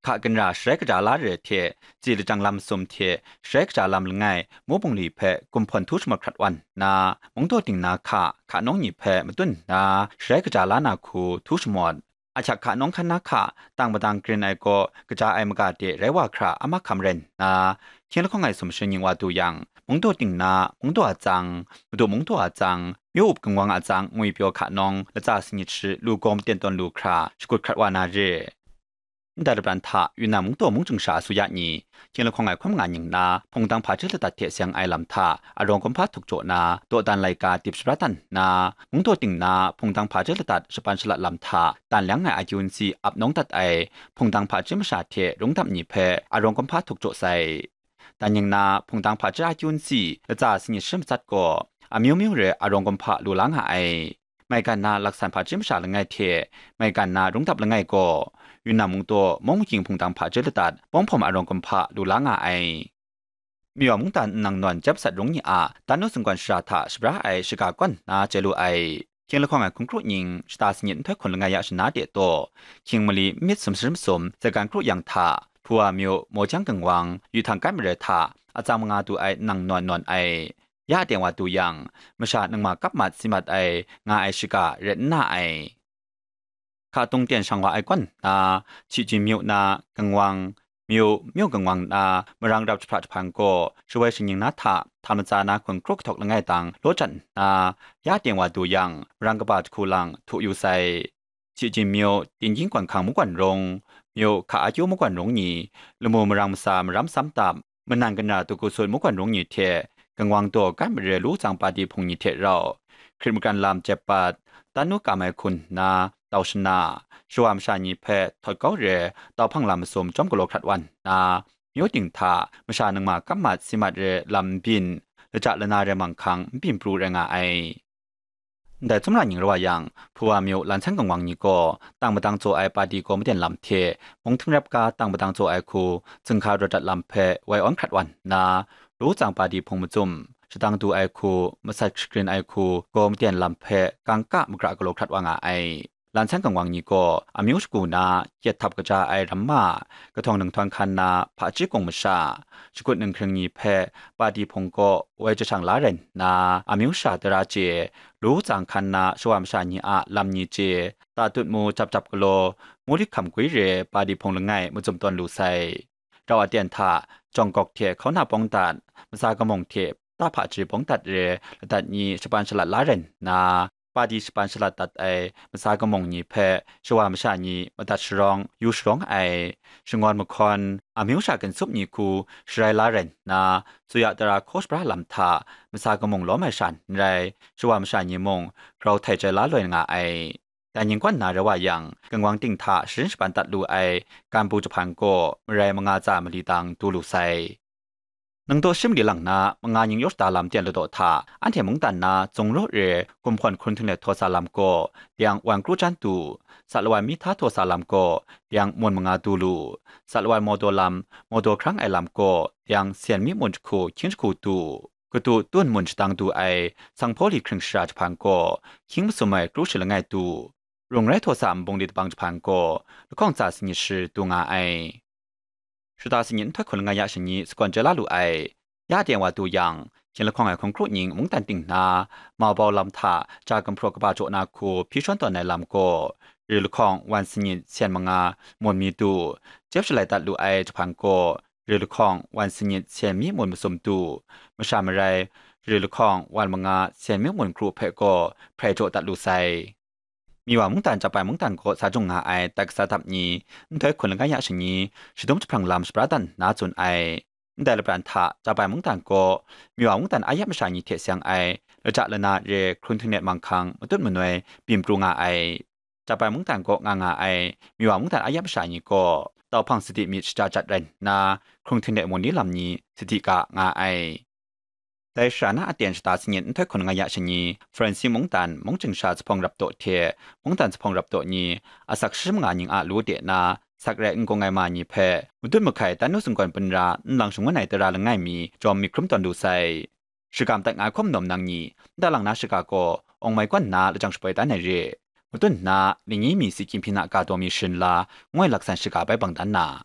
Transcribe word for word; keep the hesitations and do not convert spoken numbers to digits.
hka ginra sharai kaja la re ai hte, tsi lajang lam masum hte sharai kaja lam langai mu bungli hpe gumhpawn htu shamawt hkrat wan nna, mungdaw ting na hka, hka nawng ni hpe matun nna, sharai kaja la na hku htu shamawt. Ahkyak hka nawng hkan na hka, tang madang grin ai gaw, kaja ai maga de rai wa hkra a mahkam rai nna, hkying lahkawng ai sumsing ning wa du yang, mungdaw ting na, mungdaw atsang, madu mungdaw atsang, myu up gangwang atsang ngwi pyaw hka nawng, latsa sanit shi lu gaw maten tawn lu hkra, shakut hkrat wa na re. Ndai lapran hta, Yunnan mungdaw mung chyangsha asuya ni, hkying lahkawng ai hkawm nga ning na, hpungdang hpaji ladat hte seng ai lam hta, arawng kumhpa htuk jaw na, dawdan laika dip shabra dan nna, mungdaw ting na, hpungdang hpaji ladat shapan shalat lam hta, dan leng ai akyu nsi ap nawng dat ai, hpungdang hpaji masha hte rungdam ni hpe arawng kumhpa htuk jaw sai. Dan ning na, hpungdang hpaji akyu nsi, latsa sanit shi matsat gaw, amyu myu re arawng kumhpa lu la nga ai. Maigan na laksan hpaji masha langai hte, maigan na rungdap langai gaw, Yunnan mungdaw mung makying hpungdang hpaji ladat, pawng hpawm arawng kumhpa lu la nga ai. Miwa mungdan nnang nawn jep sat rung ni a, dan nu singkwan shara hta shabra ai shaga kawn na chye lu ai. Hkying lahkawng ai hkun kru ning, shata sanit nhtoi hkun langai ya shana de taw, hkying mali n myit sumsum sum, zagan kru yang hta, Hpuwa myu, Mawjang gangwang, yu htang kai mare hta, atsang manga du ai nnang nawn nawn ai. Ya teng wa du yang, masha ningma kap mat si mat ai, nga ai shaga ret n na ai. Hka tung ten shang wa ai kawn na, Chijin myu na, gangwang, myu, myu gangwang na, marang rap jahpra jahpan gaw, shawai shaning na hta, hta matsa na hkun kru kahtawk langai dang, law jan nna, ya teng wa du yang, marang kaba jahku lang, htu yu sai. Chijin myu, Tinggying gwan hkang magwan rung, myu, hka akyu magwan rung ni, lamu marang masa maram sam tap, manan kana tuku sut magwan rung ni hte, gangwang daw kai mare lu tsang padi hpung ni hte rau, hkrit magran lam jep pat, dan nu kam ai hkun nna, tau shana, shawa masha ni hpe htawt kau re, tau hpang lam masum chyawm galaw hkrat wan nna, myu ting hta masha ningma kap mat si mat re lam n byin, laja lana re manghkang n byin pru rai nga ai. Ndai tsawmra ning rai wa yang, Hpuwa myu lan san gangwang ni gaw, tang madang tsaw ai padi gaw maten lam hte, mung htingrep ga tang madang tsaw ai hku, zunghka rawt dat lam hpe woi awn hkrat wan nna, lu tsang padi hpung macum, shadang du ai hku, masat shagrin ai hku, gaw maten lam hpe kangka magra galaw hkrat wa nga ai. Lan san gangwang ni gaw, amyu shagu na, kyet htap kaja ai ramma, kahtawng ninghtawng hkan na, hpaji kung masha, shakut ninghkring ni hpe, padi hpung gaw woi jahshang la rai nna, amyu sha tara chye, lu tsang hkan na shawa masha ni a lam ni chye, tatut mu jap jap galaw, muli hkam gwi re padi hpung langai macum tawn lu sai. Rau aten hta, jawng gawk hte hkauna pawng dat, matsa kamung hte ta hpaji pawng dat re ladat ni shapan shalat la rai nna, padi shapan shalat dat ai matsa kamung ni hpe shawa masha ni madat sharawng, yu sharawng ai, shangawn mahkawn, amyu sha ginsup ni hku sharai la rai nna, tsuya tara hkaw shabra lam hta matsa kamung lawm ai sha n rai, shawa masha ni mung grau htai chyai la loi nga ai. Dai ning kawn na rai wa yang, gangwang ting hta sharin shapan dat lu ai ganbu jahpan gaw marai manga tsa mali dang du lu sai. Nang daw shi mali lang na, manga ning yaw shada lam ten ladaw hta, anhte mungdan na zung raw re gumhpawn hkrun htinglet htaw sa lam gaw, dang wan kru jan du, sa lawan mi hta htaw sa lam gaw, dang mun manga du lu, sa lawan mawdaw lam, mawdaw hkrang ai lam gaw, dang sen mi mun jahku hkying jahku du, kadu tun mun shadang du ai, sanghpaw li hkring shara jahpan gaw, hkying masum ai kru shi langai du, rung rai htaw sa nbung li dabang jahpan gaw, lahkawng tsa sanit shi du nga ai. Shata sanit nhtoi hkun langai ya shani sagawn chyai la lu ai. Ya teng wa du yang, hkying lahkawng ai hkun kru ning mungdan ting na, mabau lam hta ja gumhpraw kaba jaw na hku hpyi shawn tawn ai lam gaw, ri lahkawng wan sanit sen manga mun mi du, jep shalai dat lu ai jahpan gaw, ri lahkawng wan sanit sen mi mun masum du, masha marai, ri lahkawng wan manga sen mi mun kru hpe gaw hprai jaw dat lu sai. Miwa mungdan Japai mungdan kaw sa jung nga ai tai kasa dap ni, nhtoi hkun langai ya shani, shadum jahprang lam shabra dan nna tsun ai. Ndai lapran hta Japai mungdan kaw, Miwa mungdan a yap masha ni hte seng ai, laja lana re hkrun htinglet manghkang matut manoi byin pru nga ai. Japai mungdan kaw nga nga ai, Miwa mungdan a yap masha ni gaw, tau hpang sadi myit shaja jat rai nna, hkrun htinglet mun ni lam ni sadi ga nga ai. Dai sara na aten shata sanit nhtoi hkun langai ya shani, Faransi mungdan mung ching sha zuphpawng rap daw hte, mungdan zuphpawng rap daw ni, asak shi manga ning a lu de na, sak rai n kung ai ma ni hpe, madun mahkai dan nu singgawn pun ra nlang shangun ai tara langai mi jawm myit hkrum tawn lu sai. Shagam dat nga ai hkawm nawm nang ni, nta lang na shaga gaw, awng mai kawn nna lajang shapoi dan ai re. Madun nna, lingyi mi si hkying hpyi na ga daw mi sharin la, ngoi laksan shaga bai bang dan na.